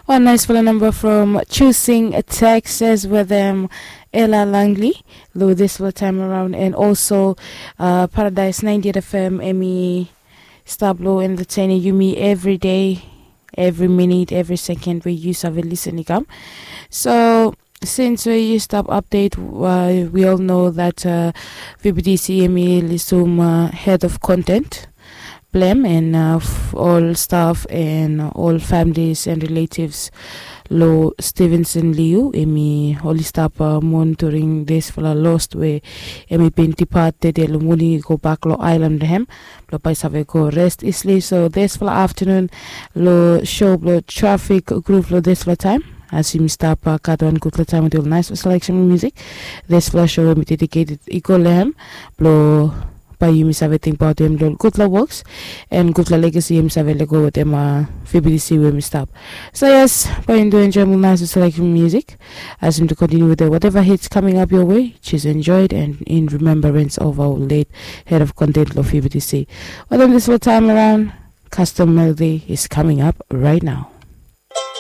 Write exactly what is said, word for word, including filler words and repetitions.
Wan naisfala namba from Choosing Texas wetem Ella Langley lo disfala taem araon, and also uh, Paradise ninety-eight F M, emi stap lo entertaining yumi evri dei, evri minit, evri sekend we yu save lisen i kam. So since we yu stap update, uh, we all know that uh, V B T C emi lisum uh, head of content blem and uh, ol staff and ol families and relatives lo Stevenson Liu, emi oli stap uh, mourn during disfala lost we emi bin depart tede lo moning i go bak lo aelan blong hem blo bae i save go rest isli. So disfala aftenun lo show blo Traffic Groove lo disfala taem, as yumi stap uh, gat wan gudfala taem wetem ol naesfala selection musik. Disfala show emi dedicated i go lo hem blo bae yumi save tingbaot hem lo gudfala woks and gudfala legacy emi save lego wetem uh, V B T C we emi stap. So yes, bae yumi tu enjoem ol naesfala selection musik as yumi tu continue with the whatever hits coming up your way. Just enjoy it and in remembrance of our late head of content lo V B T C. Wetem disfala taem araon, Custom Melody is coming up right now.